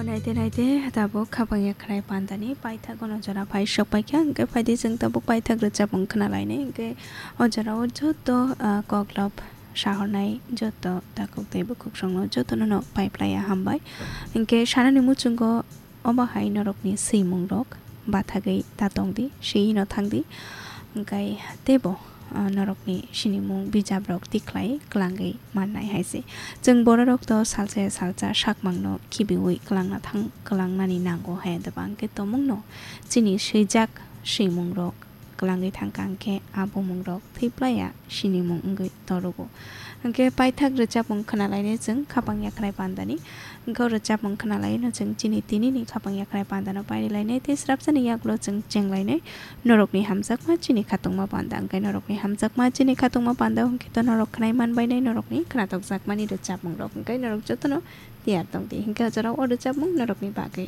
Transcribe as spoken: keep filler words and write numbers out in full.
Naite naite tabuk khapang yakhnai pandani paithak ono jora phai sok paikha, hwnkhe phaidi chwng tabuk paithak rwchapmung khwnalainai, hwnkhe o jorao joto, ah, koklop sahornai joto takhuk tei bukhuksongno jotono no paiplaiya hambai. Hwnkhe sanani muchungo obo hai norokni swimungrok bathagwi ta tongdi, swiyino thangdi, hwnkhe teibo, ah, norokni sinimung bijaprok tikhlai kwlangwi mannai hai se. Chwng bororok to salsa ya salsa sakmangno khibiwi kwlangna thang, kwlangnani nango hai, hwnkhe tomungno chini swijak swimungrok kwlangwi thangkha, hwnkhe a bumungrok thwiplaiya sinimung wngwi torogo. Hwnkhe paithak rwchapmung khwnalainai chwng khapang yakhnai pandani. Hwnkhe o rwchapmung khwnalaino chwng chini tinini khapang yakhnai pandano pairilainai tei srapsani yagulo chwng chenglainai. Norokni hamjakma chini khatungma panda, hwnkhe norokni hamjakma chini khatungma panda hwnkhe to norok khwnai manbainai norokni khwnatokjakmani rwchapmungrok, hwnkhe norok jotono tiyar tongdi. Hwnkhe o jorao o rwchapmung norokni bagwi